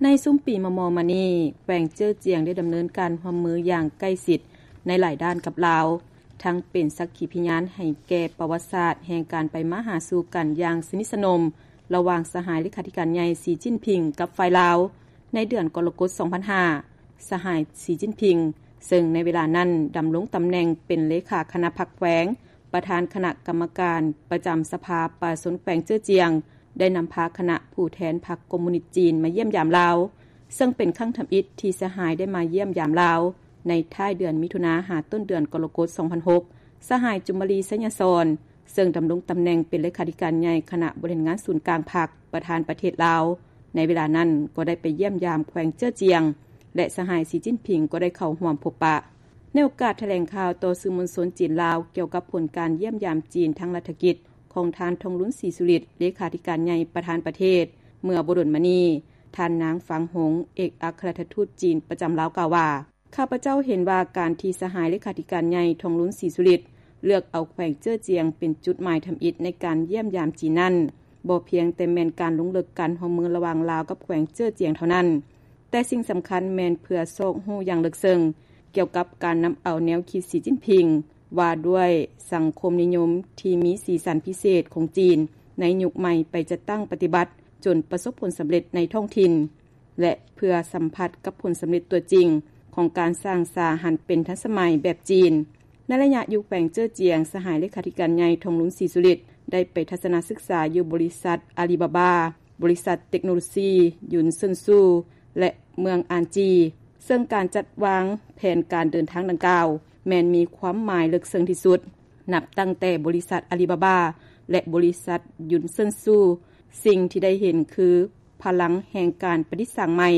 ໃນຊຸມປີມໍ່ໆມານີ້, ແຂວງເຈີຈຽງໄດ້ດຳເນີນການຮ່ວມມືຢ່າງໃກ້ຊິດໃນຫຼາຍດ້ານກັບລາວ, ທັງເປັນສັກຂີພະຍານໃຫ້ແກ່ປະຫວັດສາດແຫ່ງການໄປມາຫາສູ່ກັນຢ່າງສະໜິດສະໜົມ ລະຫວ່າງສະຫາຍເລຂາທິການໃຫຍ່ ສີຈິ້ນຜິງ ກັບຝ່າຍລາວ. ໃນເດືອນກໍລະກົດ ສອງພັນຫ້າ ສະຫາຍ ສີຈິ້ນຜິງ ເຊິ່ງໃນເວລານັ້ນດຳລົງຕຳແໜ່ງເປັນເລຂາຄະນະພັກແຂວງ, ປະທານຄະນະກຳມະການປະຈຳສະພາປະຊາຊົນແຂວງເຈີຈຽງ, ໄດ້ນຳພາຄະນະຜູ້ແທນພັກຄອມມູນິດຈີນມາຢ້ຽມຢາມລາວ, ເຊິ່ງເປັນຄັ້ງທຳອິດທີ່ສະຫາຍໄດ້ມາຢ້ຽມຢາມລາວ. ໃນທ້າຍເດືອນມິຖຸນາ ຫາຕົ້ນເດືອນກໍລະກົດ ສອງພັນຫົກ ສະຫາຍ ຈຸມມະລີ ໄຊຍະສອນ ເຊິ່ງດຳລົງຕຳແໜ່ງເປັນເລຂາທິການໃຫຍ່ຄະນະບໍລິຫານງານສູນກາງພັກ ປະທານປະເທດລາວ ໃນເວລານັ້ນກໍໄດ້ໄປຢ້ຽມຢາມແຂວງເຈີຈຽງ ແລະ ສະຫາຍ ສີຈິ້ນຜິງ ກໍໄດ້ເຂົ້າຮ່ວມພົບປະ. ໃນໂອກາດຖະແຫຼງຂ່າວຕໍ່ສື່ມວນຊົນຈີນ-ລາວ ກ່ຽວກັບຜົນການຢ້ຽມຢາມຈີນທາງລັດຖະກິດຂອງທ່ານ ທອງລຸນ ສີສຸລິດ ເລຂາທິການໃຫຍ່ປະທານປະເທດ ເມື່ອບໍ່ດົນມານີ້, ທ່ານ ນາງ ຟາງຫົງ ເອກອັກຄະລັດຖະທູດຈີນປະຈຳລາວ ກ່າວວ່າ: ຂ້າພະເຈົ້າເຫັນວ່າການທີ່ສະຫາຍເລຂາທິການໃຫຍ່ ທອງລຸນ ສີສຸລິດ ເລືອກເອົາແຂວງເຈີຈຽງເປັນຈຸດໝາຍທຳອິດໃນການຢ້ຽມຢາມຈີນນັ້ນ ບໍ່ພຽງແຕ່ແມ່ນການລົງເລິກການຮ່ວມມືລະຫວ່າງລາວກັບແຂວງເຈີຈຽງເທົ່ານັ້ນ, ແຕ່ສິ່ງສຳຄັນແມ່ນເພື່ອຊອກຮູ້ຢ່າງເລິກເຊິ່ງກ່ຽວກັບການນຳເອົາແນວຄິດສີຈິ້ນຜິງ ວ່າດ້ວຍສັງຄົມນິຍົມທີ່ມີສີສັນພິເສດຂອງຈີນໃນຍຸກໃໝ່ໄປຈັດຕັ້ງປະຕິບັດ ຈົນປະສົບຜົນສຳເລັດໃນທ້ອງຖິ່ນ ແລະ ເພື່ອສຳຜັດກັບຜົນສຳເລັດຕົວຈິງຂອງການສ້າງສາຫັນເປັນທັນສະໄໝແບບຈີນ. ໃນໄລຍະຢູ່ແຂວງເຈີຈຽງ, ສະຫາຍເລຂາທິການໃຫຍ່ ທອງລຸນ ສີສຸລິດ ໄດ້ໄປທັດສະນະສຶກສາຢູ່ບໍລິສັດອາລີບາບາ, ບໍລິສັດເຕັກໂນໂລຊີ ຢຸນເຊິນຊູ ແລະ ເມືອງອານຈີ, ເຊິ່ງການຈັດວາງແຜນການເດີນທາງດັ່ງກ່າວ ແມ່ນມີຄວາມໝາຍເລິກເຊິ່ງທີ່ສຸດ ນັບຕັ້ງແຕ່ບໍລິສັດອາລີບາບາ ແລະ ບໍລິສັດຢຸນເຊິນຊູ. ສິ່ງທີ່ໄດ້ເຫັນຄື ພະລັງແຫ່ງການປະດິດສ້າງໃໝ່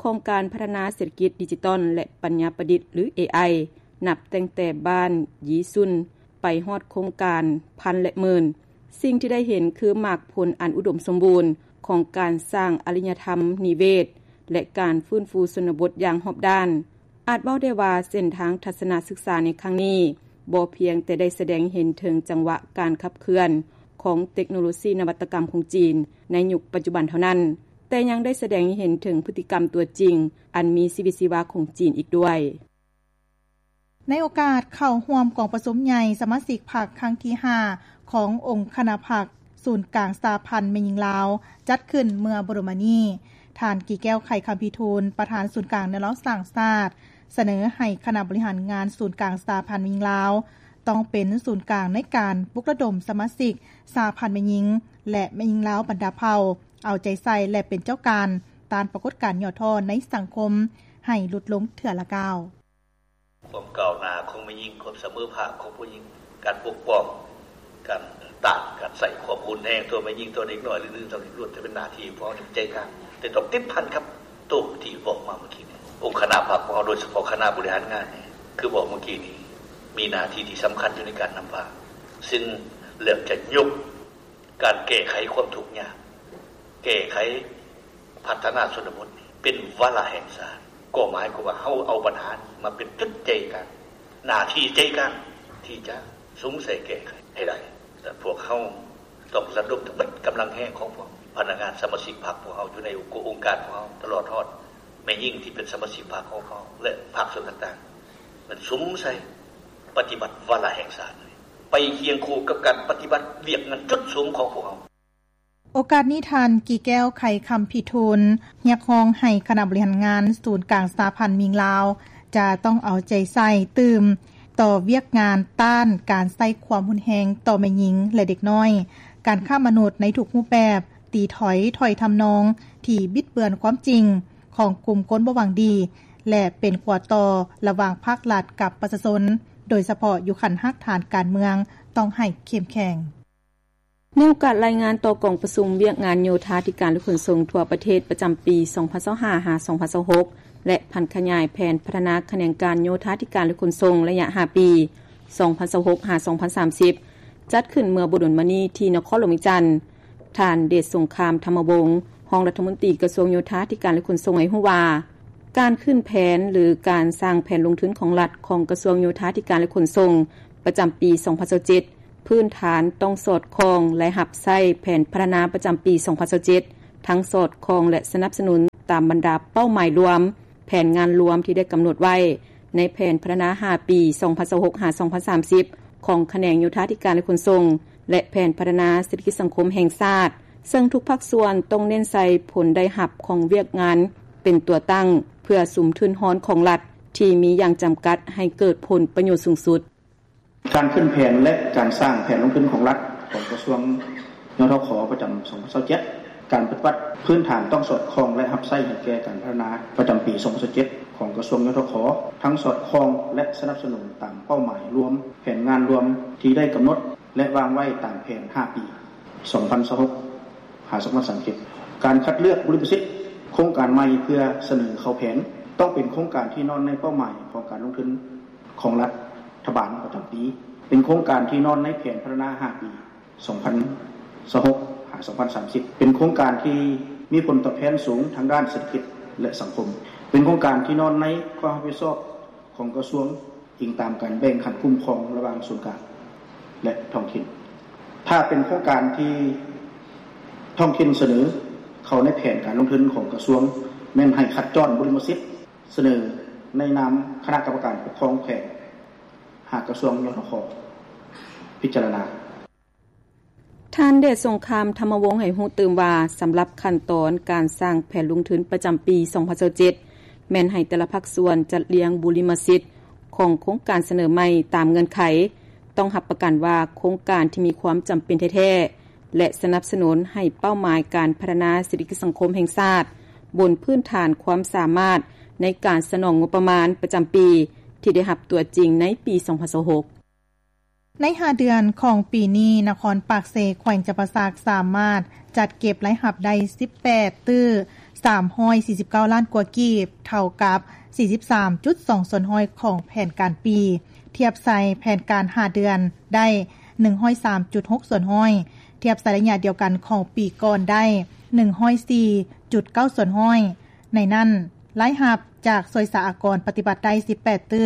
ຂອງການພັດທະນາເສດຖະກິດດິຈິຕອນ ແລະ ປັນຍາປະດິດ ຫຼື ເອໄອ ນັບຕັ້ງແຕ່ບ້ານຢີຊຸນ ໄປຮອດໂຄງການພັນ ແລະ ໝື່ນ. ສິ່ງທີ່ໄດ້ເຫັນຄືໝາກຜົນອັນອຸດົມສົມບູນຂອງການສ້າງອາລິຍະທຳນິເວດ ແລະ ການຟື້ນຟູຊົນນະບົດຢ່າງຮອບດ້ານ. ອາດເວົ້າໄດ້ວ່າເສັ້ນທາງທັດສະນະສຶກສາໃນຄັ້ງນີ້ ບໍ່ພຽງແຕ່ໄດ້ສະແດງເຫັນເຖິງຈັງຫວະການຂັບເຄື່ອນຂອງເຕັກໂນໂລຊີນະວັດຕະກຳຂອງຈີນໃນຍຸກປັດຈຸບັນເທົ່ານັ້ນ, ແຕ່ຍັງໄດ້ສະແດງເຫັນເຖິງພຶດຕິກຳຕົວຈິງອັນມີຊີວິດຊີວາຂອງຈີນອີກດ້ວຍ. ໃນໂອກາດເຂົ້າຮ່ວມກອງປະຊຸມໃຫຍ່ສະມາຊິກພັກຄັ້ງທີຫ້າ ຂອງອົງຄະນະພັກສູນກາງສະຫະພັນແມ່ຍິງລາວ ຈັດຂຶ້ນເມື່ອບໍ່ດົນມານີ້, ທ່ານ ກີແກ້ວ ໄຂຄຳພິທູນ ປະທານສູນກາງແນວລາວສ້າງຊາດ ສະເໜີໃຫ້ຄະນະບໍລິຫານງານສູນກາງສະຫະພັນແມ່ຍິງລາວ ຕ້ອງເປັນສູນກາງໃນການປຸກລະດົມສະມາຊິກສະຫະພັນແມ່ຍິງ ແລະ ແມ່ຍິງລາວບັນດາເຜົ່າ ເອົາໃຈໃສ່ ແລະ ເປັນເຈົ້າການຕ້ານປາກົດການຫຍໍ້ທໍ້ໃນສັງຄົມໃຫ້ຫຼຸດລົງເທື່ອລະກ້າວ. ຄວາມກ້າວໜ້າຂອງແມ່ຍິງ, ຄວາມສະເໝີພາບຂອງຜູ້ຍິງ, ການປົກປ້ອງ, ການຕ້ານການໃຊ້ຄວາມຮຸນແຮງຕໍ່ແມ່ຍິງ, ຕໍ່ເດັກນ້ອຍ ຫຼື ອື່ນໆ ເຫຼົ່ານີ້ ລ້ວນແຕ່ເປັນໜ້າທີ່ຂອງເຮົາທີ່ຕ້ອງຈັດການ, ແຕ່ຕ້ອງຕິດພັນກັບໂຕທີ່ເວົ້າມາເມື່ອກີ້ນີ້. ອົງຄະນະພັກຂອງເຮົາ ໂດຍສະເພາະຄະນະບໍລິຫານງານນີ້ ຄືເວົ້າເມື່ອກີ້ນີ້ ມີໜ້າທີ່ທີ່ສຳຄັນຢູ່ໃນການນຳພາ, ຊຶ່ງເລີ່ມຈະຍົກ ການແກ້ໄຂຄວາມທຸກຍາກ, ແກ້ໄຂພັດທະນາຊົນນະບົດນີ້ເປັນວາລະແຫ່ງຊາດ, ກໍໝາຍຄວາມວ່າເຮົາເອົາບັນຫານີ້ມາເປັນຈຸດໃຈກາງ, ໜ້າທີ່ໃຈກາງທີ່ຈະສຸມໃສ່ແກ້ໄຂໃຫ້ໄດ້. ແລະ ພວກເຮົາຕ້ອງລະດົມທັງເບິດກຳລັງແຮງຂອງພວກພະນັກງານສະມາຊິກພັກພວກເຮົາຢູ່ໃນອົງການພວກເຮົາ, ຕະຫຼອດຮອດແມ່ຍິງທີ່ເປັນສະມາຊິກພັກຂອງເຮົາ ແລະ ພາກສ່ວນຕ່າງໆ ແມ່ນສຸມໃສ່ ປະຕິບັດວາລະແຫ່ງຊາດ ໄປຄຽງຄູ່ກັບການປະຕິບັດວຽກງານຈຸດສຸມຂອງພວກເຮົາ. ໂອກາດນີ້ ທ່ານ ກີແກ້ວ ໄຂຄຳພິທູນ ຮຽກຮ້ອງໃຫ້ຄະນະບໍລິຫານງານສູນກາງສະຫະພັນແມ່ຍິງລາວ ຈະຕ້ອງເອົາໃຈໃສ່ຕື່ມຕໍ່ວຽກງານຕ້ານການໃຊ້ຄວາມຮຸນແຮງຕໍ່ແມ່ຍິງ ແລະ ເດັກນ້ອຍ, ການຄ້າມະນຸດໃນທຸກຮູບແບບ, ຕີຖອຍຖ້ອຍທຳນອງທີ່ບິດເບືອນຄວາມຈິງຂອງກຸ່ມຄົນບໍ່ຫວັງດີ ແລະ ເປັນຂົວຕໍ່ລະຫວ່າງພາກລັດກັບປະຊາຊົນ, ໂດຍສະເພາະຢູ່ຂັ້ນຮາກຖານການເມືອງ ຕ້ອງໃຫ້ເຂັ້ມແຂງ. ໃນໂອກາດລາຍງານຕໍ່ກອງປະຊຸມວຽກງານໂຍທາທິການ ແລະ ຂົນສົ່ງທົ່ວປະເທດປະຈຳປີສອງພັນຊາວຫ້າ ຫາ ສອງພັນຊາວຫົກ ແລະ ຜັນຂະຫຍາຍແຜນພັດທະນາຂະແໜງການໂຍທາທິການ ແລະ ຂົນສົ່ງໄລຍະຫ້າປີ ສອງພັນຊາວຫົກ ຫາ ສອງພັນສາມສິບ ຈັດຂຶ້ນເມື່ອບໍ່ດົນມານີ້ທີ່ນະຄອນຫຼວງວຽງຈັນ, ທ່ານ ເດດສົງຄາມ ທຳມະວົງ ຮອງລັດຖະມົນຕີກະຊວງໂຍທາທິການ ແລະ ຂົນສົ່ງ ໃຫ້ຮູ້ວ່າ ການຂຶ້ນແຜນ ຫຼື ການສ້າງແຜນລົງທຶນຂອງລັດຂອງກະຊວງໂຍທາທິການ ແລະ ຂົນສົ່ງ ປະຈຳປີສອງພັນຊາວເຈັດ ພື້ນຖານຕ້ອງສອດຄ່ອງ ແລະ ຮັບໃຊ້ແຜນພັດທະນາປະຈຳປີສອງພັນຊາວເຈັດ ທັງສອດຄ່ອງ ແລະ ສະໜັບສະໜູນ ຕາມບັນດາເປົ້າໝາຍລວມ, ແຜນງານລວມທີ່ໄດ້ກຳນົດໄວ້ໃນແຜນພັດທະນາຫ້າປີ ສອງພັນຊາວຫົກ ຫາ ສອງພັນສາມສິບ ຂອງຂະແໜງໂຍທາທິການ ແລະ ຂົນສົ່ງ ແລະ ແຜນພັດທະນາເສດຖະກິດສັງຄົມແຫ່ງຊາດ, ເຊິ່ງທຸກພາກສ່ວນຕ້ອງເນັ້ນໃສ່ຜົນໄດ້ຮັບຂອງວຽກງານເປັນຕົວຕັ້ງ ເພື່ອສຸມທຶນຮອນຂອງລັດທີ່ມີຢ່າງຈຳກັດໃຫ້ເກີດຜົນປະໂຫຍດສູງສຸດ. ການຂຶ້ນແຜນ ແລະ ການສ້າງແຜນລົງທຶນຂອງລັດ ຂອງກະຊວງ ຍທຂ ປະຈຳ ສອງພັນຊາວເຈັດ ການປະຕິບັດພື້ນຖານຕ້ອງສອດຄ່ອງ ແລະ ຮັບໃຊ້ໃຫ້ແກ່ການພັດທະນາປະຈຳປີ ສອງພັນຊາວເຈັດ ຂອງກະຊວງ ຍທຂ ທັງສອດຄ່ອງ ແລະ ສະໜັບສະໜູນຕາມເປົ້າໝາຍລວມ, ແຜນງານລວມທີ່ໄດ້ກຳນົດ ແລະ ວາງໄວ້ຕາມແຜນຫ້າປີ ສອງພັນຊາວຫົກ ຫາ ສອງພັນສາມສິບ. ການຄັດເລືອກບຸລິມະສິດໂຄງການໃໝ່ເພື່ອສະເໜີເຂົ້າແຜນ ຕ້ອງເປັນໂຄງການທີ່ນອນໃນເປົ້າໝາຍຂອງການລົງທຶນຂອງລັດຖະບານປະຈຳປີ, ເປັນໂຄງການທີ່ນອນໃນແຜນພັດທະນາຫ້າປີ ສອງພັນຊາວຫົກ ຫາ ສອງພັນສາມສິບ, ເປັນໂຄງການທີ່ມີຜົນຕອບແທນສູງທາງດ້ານເສດຖະກິດ ແລະ ສັງຄົມ, ເປັນໂຄງການທີ່ນອນໃນຄວາມຮັບຜິດຊອບຂອງກະຊວງ ອີງຕາມການແບ່ງຂັ້ນຄຸ້ມຄອງລະຫວ່າງສູນກາງ ແລະ ທ້ອງຖິ່ນ. ຖ້າເປັນໂຄງການທີ່ທ້ອງຖິ່ນສະເໜີເຂົ້າໃນແຜນການລົງທຶນຂອງກະຊວງ, ແມ່ນໃຫ້ຄັດຈ້ອນບຸລິມະສິດສະເໜີໃນນາມຄະນະກຳມະການປົກຄອງແຂວງ ຫາກະຊວງ ຍທຂ ພິຈາລະນາ. ທ່ານ ເດດສົງຄາມ ທຳມະວົງ ໃຫ້ຮູ້ຕື່ມວ່າ ສຳລັບຂັ້ນຕອນການສ້າງແຜນລົງທຶນປະຈຳປີ ສອງພັນຊາວເຈັດ ແມ່ນໃຫ້ແຕ່ລະພາກສ່ວນຈັດລຽງບຸລິມະສິດຂອງໂຄງການສະເໜີໃໝ່ຕາມເງື່ອນໄຂ, ຕ້ອງຮັບປະກັນວ່າໂຄງການທີ່ມີຄວາມຈຳເປັນແທ້ໆ ແລະ ສະໜັບສະໜູນໃຫ້ເປົ້າໝາຍການພັດທະນາເສດຖະກິດສັງຄົມແຫ່ງຊາດ ບົນພື້ນຖານຄວາມສາມາດໃນການສະໜອງງົບປະມານປະຈຳປີທີ່ໄດ້ຮັບຕົວຈິງໃນປີ ສອງພັນຊາວຫົກ. ໃນຫ້າເດືອນຂອງປີນີ້, ນະຄອນປາກເຊ ແຂວງຈຳປາສັກ ສາມາດຈັດເກັບລາຍຮັບໄດ້ ສິບແປດຕື້ ສາມຮ້ອຍສີ່ສິບເກົ້າລ້ານກວ່າກີບ, ເທົ່າກັບ ສີ່ສິບສາມຈຸດສອງສ່ວນຮ້ອຍຂອງແຜນການປີ, ທຽບໃສ່ແຜນການຫ້າເດືອນໄດ້ ໜຶ່ງຮ້ອຍສາມຈຸດຫົກສ່ວນຮ້ອຍ, ທຽບໃສ່ໄລຍະດຽວກັນຂອງປີກ່ອນໄດ້ ໜຶ່ງຮ້ອຍສີ່ຈຸດເກົ້າສ່ວນຮ້ອຍ. ໃນນັ້ນ, ລາຍຮັບຈາກສ່ວຍສາອາກອນປະຕິບັດໄດ້ ສິບແປດຕື້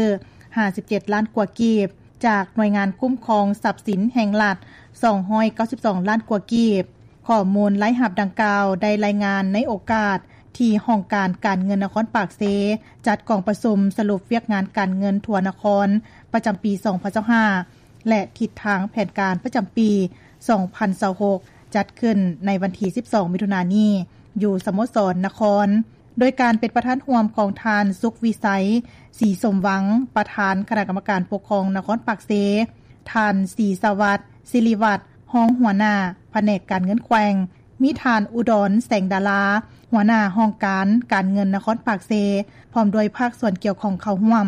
ຫ້າສິບເຈັດລ້ານກວ່າກີບ, ຈາກໜ່ວຍງານຄຸ້ມຄອງຊັບສິນແຫ່ງລັດ ສອງຮ້ອຍເກົ້າສິບສອງລ້ານກວ່າກີບ. ຂໍ້ມູນລາຍຮັບດັ່ງກ່າວໄດ້ລາຍງານໃນໂອກາດທີ່ຫ້ອງການການເງິນນະຄອນປາກເຊ ຈັດກອງປະຊຸມສະຫຼຸບວຽກງານການເງິນທົ່ວນະຄອນປະຈຳປີ ສອງພັນຊາວຫ້າ ແລະ ທິດທາງແຜນການປະຈຳປີ ສອງພັນຊາວຫົກ ຈັດຂຶ້ນໃນວັນທີ ສິບສອງ ມິຖຸນານີ້ ຢູ່ສະໂມສອນນະຄອນ. ໂດຍການເປັນປະທານຮ່ວມຂອງທ່ານ ສຸກວິໄສ ສີສົມວັງ ປະທານຄະນະກຳມະການປົກຄອງນະຄອນປາກເຊ, ທ່ານ ສີສະຫວັດ ສິລິວັດ ຮອງຫົວໜ້າພະແນກການເງິນແຂວງ, ມີທ່ານ ອຸດອນ ແສງດາລາ ຫົວໜ້າຫ້ອງການການເງິນນະຄອນປາກເຊ ພ້ອມດ້ວຍພາກສ່ວນກ່ຽວຂ້ອງເຂົ້າຮ່ວມ.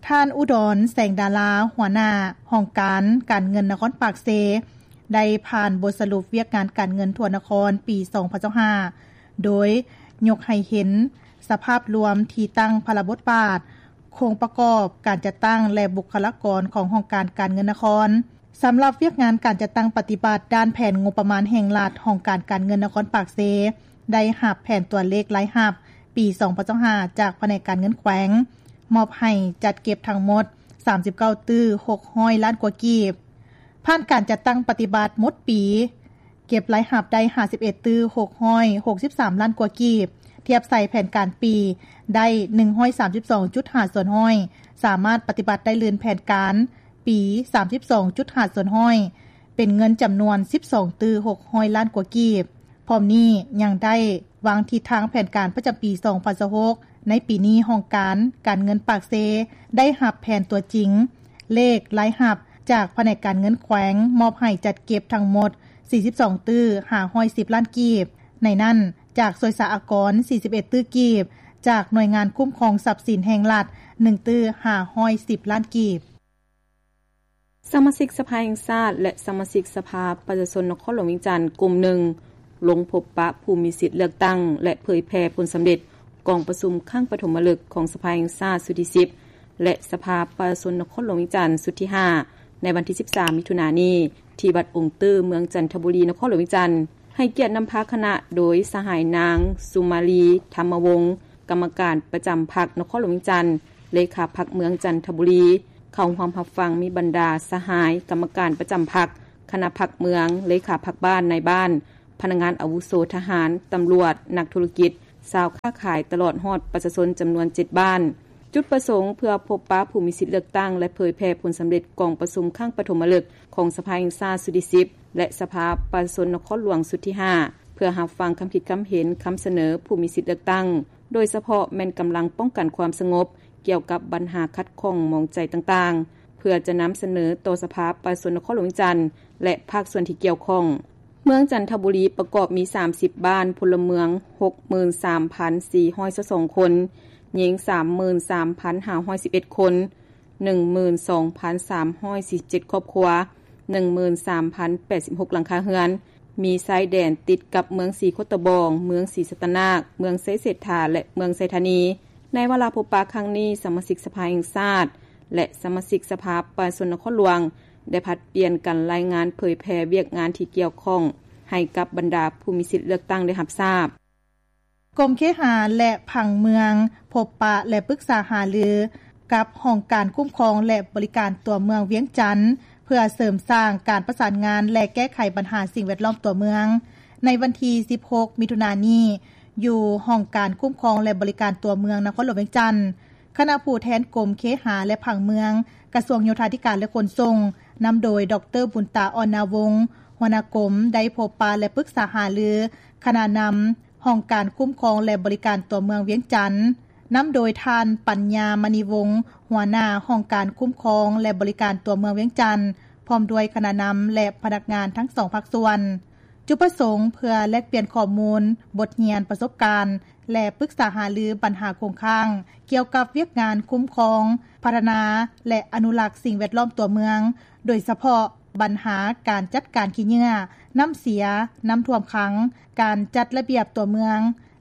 ທ່ານ ອຸດອນ ແສງດາລາ ຫົວໜ້າຫ້ອງການການເງິນນະຄອນປາກເຊ ໄດ້ຜ່ານບົດສະຫຼຸບວຽກງານການເງິນທົ່ວນະຄອນປີ ສອງພັນຊາວຫ້າ ໂດຍຍົກໃຫ້ເຫັນສະພາບລວມທີ່ຕັ້ງພາລະບົດບາດ, ໂຄງປະກອບການຈັດຕັ້ງ ແລະ ບຸກຄະລາກອນຂອງຫ້ອງການການເງິນນະຄອນ. ສຳລັບວຽກງານການຈັດຕັ້ງປະຕິບັດດ້ານແຜນງົບປະມານແຫ່ງລັດ, ຫ້ອງການການເງິນນະຄອນປາກເຊ ໄດ້ຮັບແຜນຕົວເລກລາຍຮັບປີ ສອງພັນຊາວຫ້າ ຈາກພະແນກການເງິນແຂວງ ມອບໃຫ້ຈັດເກັບທັງໝົດ ສາມສິບເກົ້າຕື້ ຫົກຮ້ອຍລ້ານກວ່າກີບ. ຜ່ານການຈັດຕັ້ງປະຕິບັດໝົດປີ, ເກັບລາຍຮັບໄດ້ ຫ້າສິບເອັດຕື້ ຫົກຮ້ອຍຫົກສິບສາມລ້ານກວ່າກີບ, ທຽບໃສ່ແຜນການປີໄດ້ ໜຶ່ງຮ້ອຍສາມສິບສອງຈຸດຫ້າສ່ວນຮ້ອຍ, ສາມາດປະຕິບັດໄດ້ລື່ນແຜນການປີ ສາມສິບສອງຈຸດຫ້າສ່ວນຮ້ອຍ, ເປັນເງິນຈຳນວນ ສິບສອງຕື້ ຫົກຮ້ອຍລ້ານກວ່າກີບ. ພ້ອມນີ້ຍັງໄດ້ວາງທິດທາງແຜນການປະຈຳປີ ສອງພັນຊາວຫົກ. ໃນປີນີ້, ຫ້ອງການການເງິນປາກເຊ ໄດ້ຮັບແຜນຕົວຈິງ ເລກລາຍຮັບຈາກພະແນກການເງິນແຂວງ ມອບໃຫ້ຈັດເກັບທັງໝົດ ສີ່ສິບສອງຕື້ ຫ້າຮ້ອຍສິບລ້ານກີບ, ໃນນັ້ນ, ຈາກສ່ວຍສາອາກອນ ສີ່ສິບເອັດຕື້ກີບ, ຈາກໜ່ວຍງານຄຸ້ມຄອງຊັບສິນແຫ່ງລັດ ໜຶ່ງຕື້ ຫ້າຮ້ອຍສິບລ້ານກີບ. ສະມາຊິກສະພາແຫ່ງຊາດ ແລະ ສະມາຊິກສະພາປະຊາຊົນນະຄອນຫຼວງວຽງຈັນກຸ່ມໜຶ່ງ ລົງພົບປະຜູ້ມີສິດເລືອກຕັ້ງ ແລະ ເຜີຍແຜ່ຜົນສຳເລັດກອງປະຊຸມຄັ້ງປະຖົມມະລຶກຂອງສະພາແຫ່ງຊາດຊຸດທີສິບ ແລະ ສະພາປະຊາຊົນນະຄອນຫຼວງວຽງຈັນຊຸດທີຫ້າ ໃນວັນທີສິບສາມ ມິຖຸນານີ້ ທີ່ວັດອົງຕື້ ເມືອງຈັນທະບູລີ ນະຄອນຫຼວງວຽງຈັນ. ໃຫ້ກຽດນຳພາຄະນະໂດຍສະຫາຍນາງ ສຸມາລີ ທຳມະວົງ ກຳມະການປະຈຳພັກນະຄອນຫຼວງວຽງຈັນ, ເລຂາພັກເມືອງຈັນທະບູລີ. ເຂົ້າຮ່ວມຮັບຟັງມີບັນດາສະຫາຍກຳມະການປະຈຳພັກ, ຄະນະພັກເມືອງ, ເລຂາພັກບ້ານ, ນາຍບ້ານ, ພະນັກງານອາວຸໂສ, ທະຫານ, ຕຳຫຼວດ, ນັກທຸລະກິດ, ຊາວຄ້າຂາຍ ຕະຫຼອດຮອດປະຊາຊົນຈຳນວນເຈັດບ້ານ. ຈຸດປະສົງເພື່ອພົບປະຜູ້ມີສິດເລືອກຕັ້ງ ແລະ ເຜີຍແຜ່ຜົນສຳເລັດກອງປະຊຸມຄັ້ງປະຖົມມະລຶກຂອງສະພາແຫ່ງຊາດຊຸດທີສິບ ແລະ ສະພາປະຊາຊົນນະຄອນຫຼວງຊຸດທີຫ້າ ເພື່ອຮັບຟັງຄຳຄິດຄຳເຫັນ, ຄຳສະເໜີຜູ້ມີສິດເລືອກຕັ້ງ, ໂດຍສະເພາະແມ່ນກຳລັງປ້ອງກັນຄວາມສະຫງົບ ກ່ຽວກັບບັນຫາຂັດຂ້ອງໝອງໃຈຕ່າງໆ ເພື່ອຈະນຳສະເໜີຕໍ່ສະພາປະຊາຊົນນະຄອນຫຼວງວຽງຈັນ ແລະ ພາກສ່ວນທີ່ກ່ຽວຂ້ອງ. ເມືອງຈັນທະບູລີປະກອບມີສາມສິບບ້ານ, ພົນລະເມືອງຫົກໝື່ນສາມພັນສີ່ຮ້ອຍຊາວສອງຄົນ, ຍິງສາມໝື່ນສາມພັນຫ້າຮ້ອຍສິບເອັດຄົນ, ໜຶ່ງໝື່ນສອງພັນສາມຮ້ອຍສີ່ສິບເຈັດຄອບຄົວ, ໜຶ່ງໝື່ນສາມພັນແປດສິບຫົກຫຼັງຄາເຮືອນ, ມີຊາຍແດນຕິດກັບເມືອງສີໂຄດຕະບອງ, ເມືອງສີສັດຕະນາກ, ເມືອງໄຊເສດຖາ ແລະ ເມືອງໄຊທານີ. ໃນວາລະພົບປະຄັ້ງນີ້, ສະມາຊິກສະພາແຫ່ງຊາດ ແລະ ສະມາຊິກສະພາປະຊາຊົນນະຄອນຫຼວງ ໄດ້ຜັດປ່ຽນກັນລາຍງານເຜີຍແຜ່ວຽກງານທີ່ກ່ຽວຂ້ອງ ໃຫ້ກັບບັນດາຜູ້ມີສິດເລືອກຕັ້ງໄດ້ຮັບຊາບ. ກົມເຄຫາ ແລະ ຜັງເມືອງ ພົບປະ ແລະ ປຶກສາຫາລືກັບຫ້ອງການຄຸ້ມຄອງ ແລະ ບໍລິການຕົວເມືອງວຽງຈັນ ເພື່ອເສີມສ້າງການປະສານງານ ແລະ ແກ້ໄຂບັນຫາສິ່ງແວດລ້ອມຕົວເມືອງ ໃນວັນທີສິບຫົກ ມິຖຸນານີ້ ຢູ່ຫ້ອງການຄຸ້ມຄອງ ແລະ ບໍລິການຕົວເມືອງນະຄອນຫຼວງວຽງຈັນ. ຄະນະຜູ້ແທນກົມເຄຫາ ແລະ ຜັງເມືອງ ກະຊວງໂຍທາທິການ ແລະ ຂົນສົ່ງ ນຳໂດຍ ດອກເຕີ ບຸນຕາ ອ່ອນນາວົງ ຫົວໜ້າກົມ ໄດ້ພົບປະ ແລະ ປຶກສາຫາລືຄະນະນຳຫ້ອງການຄຸ້ມຄອງ ແລະ ບໍລິການຕົວເມືອງວຽງຈັນ, ນຳໂດຍທ່ານ ປັນຍາ ມະນີວົງ ຫົວໜ້າຫ້ອງການຄຸ້ມຄອງ ແລະ ບໍລິການຕົວເມືອງວຽງຈັນ ພ້ອມດ້ວຍຄະນະນຳ ແລະ ພະນັກງານທັງສອງພາກສ່ວນ. ຈຸດປະສົງເພື່ອແລກປ່ຽນຂໍ້ມູນ, ບົດຮຽນ, ປະສົບການ ແລະ ປຶກສາຫາລືບັນຫາຄົງຄ້າງ ກ່ຽວກັບວຽກງານຄຸ້ມຄອງ, ພັດທະນາ ແລະ ອະນຸລັກສິ່ງແວດລ້ອມຕົວເມືອງ, ໂດຍສະເພາະບັນຫາການຈັດການຂີ້ເຫຍື້ອ, ນ້ຳເສຍ, ນ້ຳຖ້ວມຂັງ, ການຈັດລະບຽບຕົວເມືອງ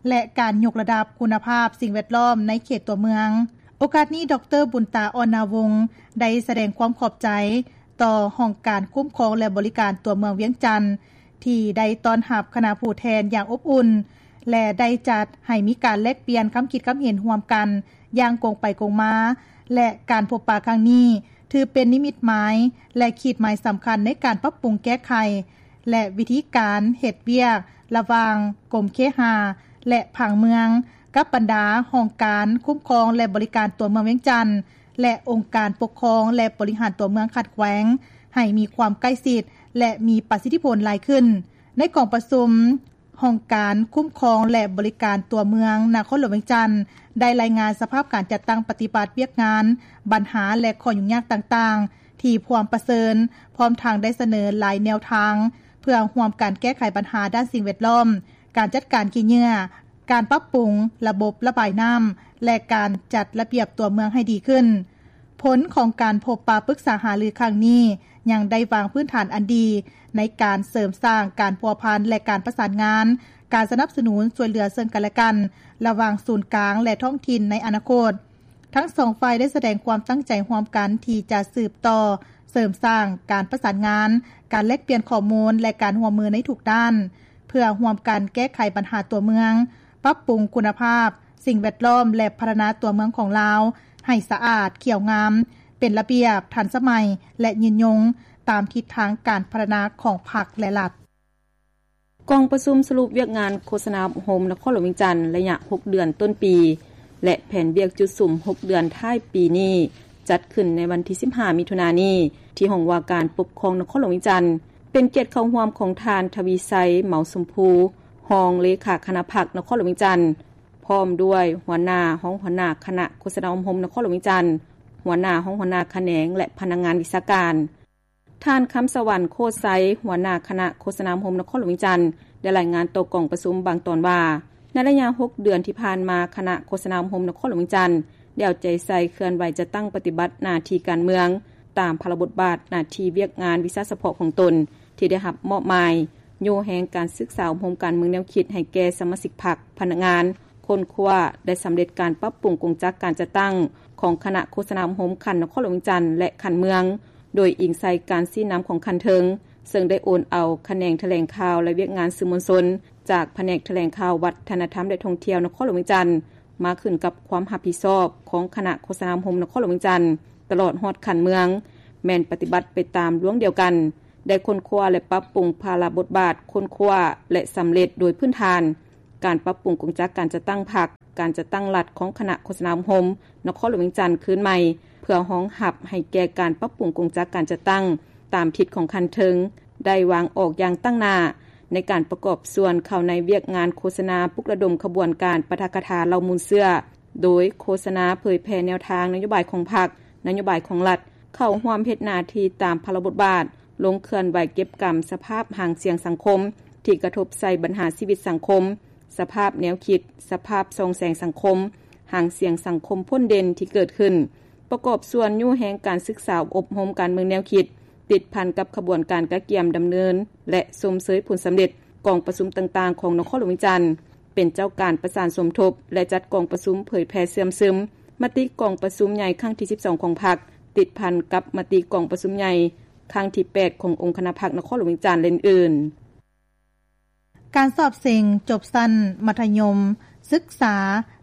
ແລະ ການຍົກລະດັບຄຸນນະພາບສິ່ງແວດລ້ອມໃນເຂດຕົວເມືອງ. ໂອກາດນີ້ ດອກເຕີ ບຸນຕາ ອ່ອນນາວົງ ໄດ້ສະແດງຄວາມຂອບໃຈຕໍ່ຫ້ອງການຄຸ້ມຄອງ ແລະ ບໍລິການຕົວເມືອງວຽງຈັນ ທີ່ໄດ້ຕ້ອນຮັບຄະນະຜູ້ແທນຢ່າງອົບອຸ່ນ ແລະ ໄດ້ຈັດໃຫ້ມີການແລກປ່ຽນຄຳຄິດຄຳເຫັນຮ່ວມກັນຢ່າງກົງໄປກົງມາ ແລະ ການພົບປະຄັ້ງນີ້ ຖືເປັນນິມິດໝາຍ ແລະ ຂີດໝາຍສຳຄັນໃນການປັບປຸງແກ້ໄຂ ແລະ ວິທີການເຮັດວຽກລະຫວ່າງກົມເຄຫາ ແລະ ຜັງເມືອງ ກັບບັນດາຫ້ອງການຄຸ້ມຄອງ ແລະ ບໍລິການຕົວເມືອງວຽງຈັນ ແລະ ອົງການປົກຄອງ ແລະ ບໍລິຫານຕົວເມືອງຂັ້ນແຂວງ ໃຫ້ມີຄວາມໃກ້ຊິດ ແລະ ມີປະສິດທິຜົນຫຼາຍຂຶ້ນ. ໃນກອງປະຊຸມ, ຫ້ອງການຄຸ້ມຄອງ ແລະ ບໍລິການຕົວເມືອງນະຄອນຫຼວງວຽງຈັນ ໄດ້ລາຍງານສະພາບການຈັດຕັ້ງປະຕິບັດວຽກງານ, ບັນຫາ ແລະ ຂໍ້ຫຍຸ້ງຍາກຕ່າງໆ ທີ່ພວມປະເຊີນ, ພ້ອມທັງໄດ້ສະເໜີຫຼາຍແນວທາງ ເພື່ອຮ່ວມກັນແກ້ໄຂບັນຫາດ້ານສິ່ງແວດລ້ອມ, ການຈັດການຂີ້ເຫຍື້ອ, ການປັບປຸງລະບົບລະບາຍນ້ຳ ແລະ ການຈັດລະບຽບຕົວເມືອງໃຫ້ດີຂຶ້ນ. ຜົນຂອງການພົບປະປຶກສາຫາລືຄັ້ງນີ້ ຍັງໄດ້ວາງພື້ນຖານອັນດີໃນການເສີມສ້າງການພົວພັນ ແລະ ການປະສານງານ, ການສະໜັບສະໜູນຊ່ວຍເຫຼືອເຊິ່ງກັນແລະກັນ ລະຫວ່າງສູນກາງ ແລະ ທ້ອງຖິ່ນໃນອະນາຄົດ. ທັງສອງຝ່າຍໄດ້ສະແດງຄວາມຕັ້ງໃຈຮ່ວມກັນທີ່ຈະສືບຕໍ່ເສີມສ້າງການປະສານງານ, ການແລກປ່ຽນຂໍ້ມູນ ແລະ ການຮ່ວມມືໃນທຸກດ້ານ ເພື່ອຮ່ວມກັນແກ້ໄຂບັນຫາຕົວເມືອງ, ປັບປຸງຄຸນນະພາບ ສິ່ງແວດລ້ອມ ແລະ ພັດທະນາຕົວເມືອງຂອງລາວໃຫ້ສະອາດ, ຂຽວງາມ, ເປັນລະບຽບ, ທັນສະໄໝ ແລະ ຍືນຍົງ ຕາມທິດທາງການພັດທະນາຂອງພັກ ແລະ ລັດ. ກອງປະຊຸມສະຫຼຸບວຽກງານໂຄສະນາອົບຮົມນະຄອນຫຼວງວຽງຈັນ ໄລຍະຫົກເດືອນຕົ້ນປີ ແລະ ແຜນວຽກຈຸດສຸມຫົກເດືອນທ້າຍປີນີ້ ຈັດຂຶ້ນໃນວັນທີສິບຫ້າ ມິຖຸນານີ້ ທີ່ຫ້ອງວ່າການປົກຄອງນະຄອນຫຼວງວຽງຈັນ. ເປັນກຽດເຂົ້າຮ່ວມຂອງທ່ານ ທະວີໄຊ ເໝົາຊົມພູ ຮອງເລຂາຄະນະພັກນະຄອນຫຼວງວຽງຈັນ, ພ້ອມດ້ວຍຫົວໜ້າ, ຮອງຫົວໜ້າຄະນະໂຄສະນາອົບຮົມນະຄອນຫຼວງວຽງຈັນ, ຫົວໜ້າ, ຮອງຫົວໜ້າຂະແໜງ ແລະ ພະນັກງານວິຊາການ. ທ່ານ ຄຳສະຫວັນ ໂຄດໄຊ ຫົວໜ້າຄະນະໂຄສະນາອົບຮົມນະຄອນຫຼວງວຽງຈັນ ໄດ້ລາຍງານຕໍ່ກອງປະຊຸມບາງຕອນວ່າ, ໃນໄລຍະຫົກເດືອນທີ່ຜ່ານມາ, ຄະນະໂຄສະນາອົບຮົມນະຄອນຫຼວງວຽງຈັນ ໄດ້ເອົາໃຈໃສ່ເຄື່ອນໄຫວຈັດຕັ້ງປະຕິບັດໜ້າທີ່ການເມືອງ ຕາມພາລະບົດບາດ, ໜ້າທີ່, ວຽກງານ, ວິຊາສະເພາະຂອງຕົນ ທີ່ໄດ້ຮັບມອບໝາຍ, ໂຍແຮງການສຶກສາອົບຮົມການເມືອງແນວຄິດໃຫ້ແກ່ສະມາຊິກພັກ, ພະນັກງານ, ຄົ້ນຄວ້າ ແລະ ສຳເລັດການປັບປຸງກົງຈັກການຈັດຕັ້ງຂອງຄະນະໂຄສະນາອົບຮົມຂັ້ນນະຄອນຫຼວງວຽງຈັນ ແລະ ຂັ້ນເມືອງ, ໂດຍອີງໃສ່ການຊີ້ນຳຂອງຂັ້ນເທິງ, ເຊິ່ງໄດ້ໂອນເອົາຂະແໜງຖະແຫຼງຂ່າວ ແລະ ວຽກງານສື່ມວນຊົນ ຈາກພະແນກຖະແຫຼງຂ່າວ, ວັດທະນະທຳ ແລະ ທ່ອງທ່ຽວນະຄອນຫຼວງວຽງຈັນ ມາຂຶ້ນກັບຄວາມຮັບຜິດຊອບຂອງຄະນະໂຄສະນາອົບຮົມນະຄອນຫຼວງວຽງຈັນ ຕະຫຼອດຮອດຂັ້ນເມືອງ ແມ່ນປະຕິບັດໄປຕາມລວງດຽວກັນ, ໄດ້ຄົ້ນຄວ້າ ແລະ ປັບປຸງພາລະບົດບາດ, ຄົ້ນຄວ້າ ແລະ ສຳເລັດໂດຍພື້ນຖານ, ການປັບປຸງກົງຈັກການຈັດຕັ້ງພັກ, ການຈັດຕັ້ງລັດຂອງຄະນະໂຄສະນາອົບຮົມນະຄອນຫຼວງວຽງຈັນຄືນໃໝ່ ເພື່ອຮອງຮັບໃຫ້ແກ່ການປັບປຸງກົງຈັກການຈັດຕັ້ງຕາມທິດຂອງຂັ້ນເທິງ ໄດ້ວາງອອກຢ່າງຕັ້ງໜ້າ ໃນການປະກອບສ່ວນເຂົ້າໃນວຽກງານໂຄສະນາປຸກລະດົມຂະບວນການປາຖະກະຖາເຫຼົ່າມູນເຊື້ອ ໂດຍໂຄສະນາເຜີຍແຜ່ແນວທາງນະໂຍບາຍຂອງພັກ, ນະໂຍບາຍຂອງລັດ, ເຂົ້າຮ່ວມເຮັດໜ້າທີ່ຕາມພາລະບົດບາດ, ລົງເຄື່ອນໄຫວເກັບກຳສະພາບຫາງສຽງສັງຄົມທີ່ກະທົບໃສ່ບັນຫາຊີວິດສັງຄົມ, ສະພາບແນວຄິດ, ສະພາບສ່ອງແສງສັງຄົມ, ຫາງສຽງສັງຄົມພົ້ນເດັ່ນທີ່ເກີດຂຶ້ນ, ປະກອບສ່ວນຍູ້ແຮງການສຶກສາອົບຮົມການເມືອງແນວຄິດ ຕິດພັນກັບຂະບວນການກະກຽມດຳເນີນ ແລະ ຊົມເຊີຍຜົນສຳເລັດກອງປະຊຸມຕ່າງໆຂອງນະຄອນຫຼວງວຽງຈັນ, ເປັນເຈົ້າການປະສານສົມທົບ ແລະ ຈັດກອງປະຊຸມເຜີຍແຜ່ເຊື່ອມຊຶມມະຕິກອງປະຊຸມໃຫຍ່ຄັ້ງທີສິບສອງຂອງພັກ, ຕິດພັນກັບມະຕິກອງປະຊຸມໃຫຍ່ຄັ້ງທີແປດຂອງອົງຄະນະພັກນະຄອນຫຼວງວຽງຈັນ ແລະ ອື່ນໆ. ການສອບເສັງຈົບຊັ້ນມັດທະຍົມສຶກສາ